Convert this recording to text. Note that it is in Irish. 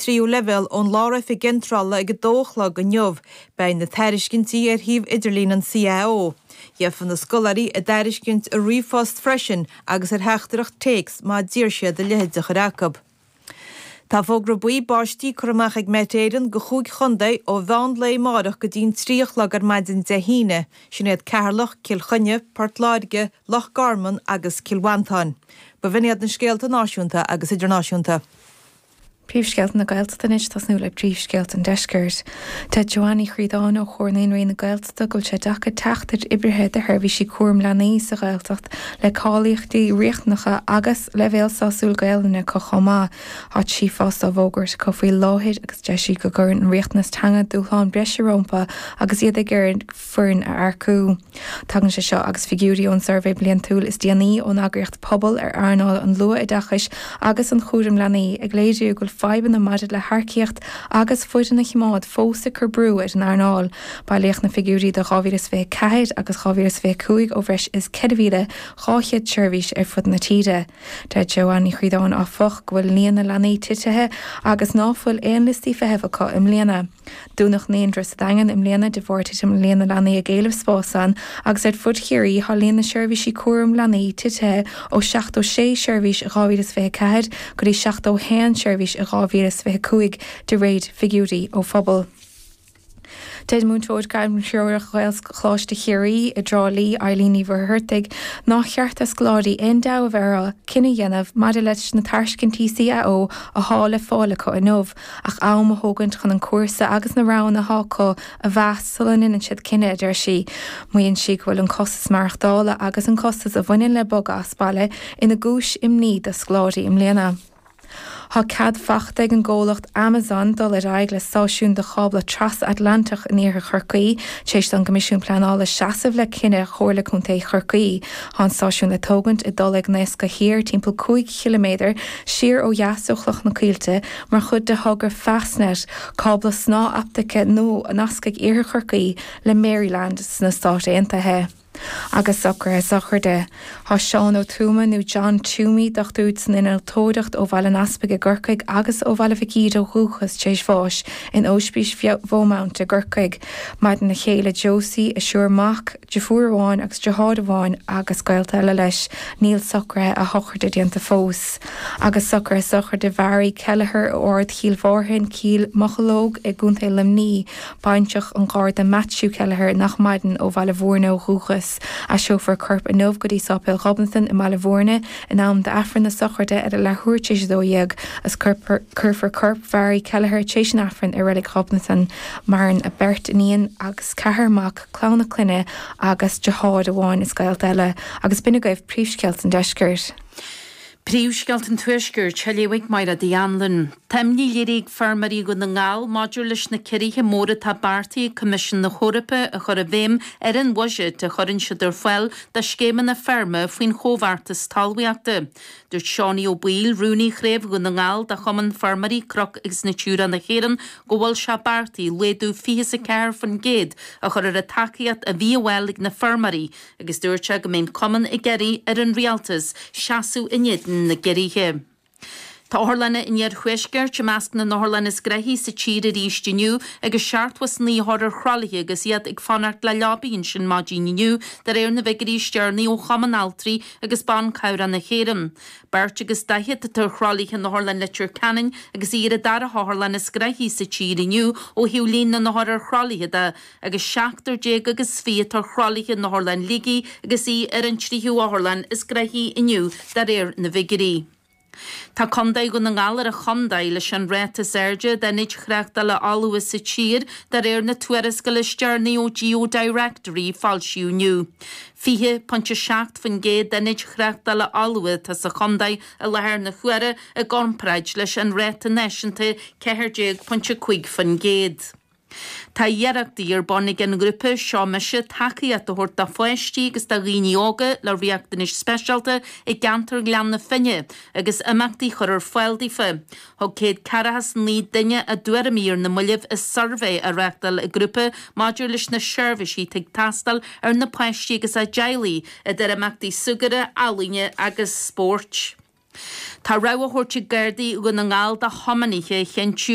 Tríú Leibhéal ón Lár-Oifig Iontrála ag 2 a chlog inniu. Beidh na tairiscintí ar shuíomh idirlín an CAO. Gheofa na scoláirí a dtairiscint i ríomhphost freisin agus ar theachtaireacht téacs má d'iarr siad a leithéid de chur acu. Tá fógra buí báistí curtha amach ag Met Éireann go chúig chontae ó mheán lae amáireach go dtí'n 3 a chlog ar maidin Dé hAoine. Sin iad Ceatharlach, Cill Chainnigh, Port Láirge, Loch Garman agus Cill Mhantáin. B'in iad na scéalta náisiúnta agus idirnáisiúnta. Príomhscéalta na Gaeltachta anois, tosnú le príomhscéalta an Deiscirt. Deir Joanne Ní Chríodáin ó Chomhar Naíonraí na Gaeltachta go bhfuil sé deacair teacht ar oibrithe do sheirbhísí cúram leanaí sa Ghaeltacht le cáilíochtaí riachtanacha agus leibhéal sásúil Gaelainne acu chomh maith. Tá 3 phost á bhfógairt acu faoi láthair agus deir sí go gcuireann an riachtanas teanga dúshlán breise rompu agus iad ag iarraidh foireann a earcú. Tagann sé seo agus figiúirí ón suirbhé bliantúil is déanaí ón eagraíocht Pobal ar earnáil an luath-oideachais agus an chúraim leanaí ag léiriú go bhfuil fadhbanna maidir le hearcaíocht agus foireann a choimeád fós ag cur brú ar an earnáil. Bailíodh na figiúirí do 2024 agus 2025 ó bhreis is 4,200 seirbhís ar fud na tíre. Deir Joanne Ní Chríodáin áfach go bhfuil líon na leanaí titithe agus ná fuil aon liostaí feithimh acu i mbliana. Dúnadh naíonra sa Daingean i mbliana de bharr titim i líon na leanaí ag éileamh spáis ann agus ar fud Chiarraí tá líon na seirbhísí cúram leanaí titithe ó 76 seirbhís i 2024 go dtí 71 seirbhís i 2025 de réir figiúirí ó Phobal. Deir múinteoir gairmthreorach Ghaelcholáiste Chiarraí i dTrá Lí, Eileen Ní Mhuircheartaigh, nár cheart do scoláirí aon dabht a bheith orthu cinneadh a dhéanamh maidir leis na tairiscintí CAO athá le fáil acu inniu. ach am a thógaint chun an cúrsa agus na roghanna atá acu a mheas sula ndéanann siad cinneadh, a deir sí. Maíonn sí go bhfuil an costas maireachtála agus an costas a bhaineann le bogadh as baile ina gcúis imní do scoláirí i mbliana. Tá cead fachta ag an gcomhlacht Amazon dul ar aghaidh le stáisiún do chábla tras-Atlantach in iarthar Chorcaí, tar éis don gCoimisiún Pleanála seasamh le cinneadh Chomhairle Contae Chorcaí. Tá an stáisiún le tógaint i dTulaigh Naosca Thiar, timpeall 5 chiliméadar siar ó dheas ó Chloch na Coillte, mar chuid de thogra Fastnet, cábla snáthoptaice nua a nascfaidh iarthar Chorcaí le Maryland sna Stáit Aontaithe. Agus socruithe sochraide. Tá Seán Ó Tuama, nó John Toomey, dochtúir san innealtóireacht ó Bhaile an Easpaig i gCorcaigh agus ó Bhaile Mhic Íde ó dhúchas, tar éis bháis in Ospís Bheaumount i gCorcaigh. Maireann a chéile Josie, a thriúr mac, deirfiúr amháin agus deartháir amháin agus gaolta eile leis. Níl socruithe a shochraide déanta fós. Agus socruithe sochraide Mhary Kelleher ó Ard Chill Mhárthain, Cill Mocheallóg i gContae Luimní. Baintreach an Gharda Matthew Kelleher nach maireann ó Bhaile Bhúirne ó dhúchas. Aistreofar a corp inniu go dtí Sáipéal Ghobnatan i mBaile Bhúirne in am d'Aifreann na sochraide ar a leathuair tar éis 12 agus cuirfear corp Mhary Kelleher tar éis an Aifrinn i Reilig Ghobnatan. Maireann a beirt iníon agus ceathrar mac. clann a clainne agus deartháir amháin is gaolta eile, agus b'in agaibh príomhscéalta an deiscirt. Príomhscéalta an Tuaiscirt, á léamh ag Mairéad Uí Anluain. Tá imní léirithe ag feirmeoirí Dhún na nGall maidir leis na ciorruithe móra atá beartaithe ag Coimisiún na hEorpa a chur i bhfeidhm ar an bhuiséad a chuireann siad ar fáil do scéimeanna feirme faoin Chomhbheartas Talmhaíochta. Dúirt Seánie Ó Baoill, Rúnaí Chraobh Dhún na nGall de Chumann Feirmeoirí Cnoc agus Natura na hÉireann, go bhfuil sé beartaithe laghdú 24% a chur ar an tacaíocht a bhí á fháil ag na feirmeoirí agus dúirt sé go mbeidh an cumann ag iarraidh ar an rialtas seasamh in éadan na gciorruithe. Tá otharlanna an iarthuaiscirt i measc na n-otharlann is gnoithí sa tír arís inniu agus 79 othar ar thralaithe agus iad ag fanacht le leabaí ansin maidin inniu, de réir na bhfigiúirí is deireanaí ó Chumann Altraí agus Ban Cabhrach na hÉireann. Beirt agus 40 atá ar thralaithe in Otharlann Leitir Ceanainn agus í ar an dara hotharlann is gnoithí sa tír inniu ó thaobh líon na n-othar ar thralaithe de, agus seachtar déag agus 20 atá ar thralaithe in Otharlann Shligigh agus í ar an tríú hotharlann is gnoithí inniu de réir na bhfigiúirí. Tá Contae Dhún na nGall ar an chontae leis an ráta is airde d'ionaid thráchtála fholmha sa tír, de réir na tuarascála is deireanaí ó GeoDirectory a foilsíodh inniu. 20.7% d'ionaid thráchtála fholmha atá sa chontae i láthair na huaire i gcomparáid leis an ráta náisiúnta 14.5%. Tá iarrachtaí ar bun ag an ngrúpa Seo Mise tacaíocht a thabhairt do pháistí agus do dhaoine óga le riachtanais speisialta i gceantar Ghleann na Finne agus imeachtaí a chur ar fáil daofa. Thug 149 duine a dtuairimí ar na mallaibh i suirbhé a reáchtáil an grúpa maidir leis na seirbhísí atá ag teastáil ar na páistí agus a dteaghlaigh, idir imeachtaí súgartha, ealaíne agus spóirt. Tá rabhadh á thabhairt ag Gardaí Dhún na nGall do thiománaithe a chinntiú.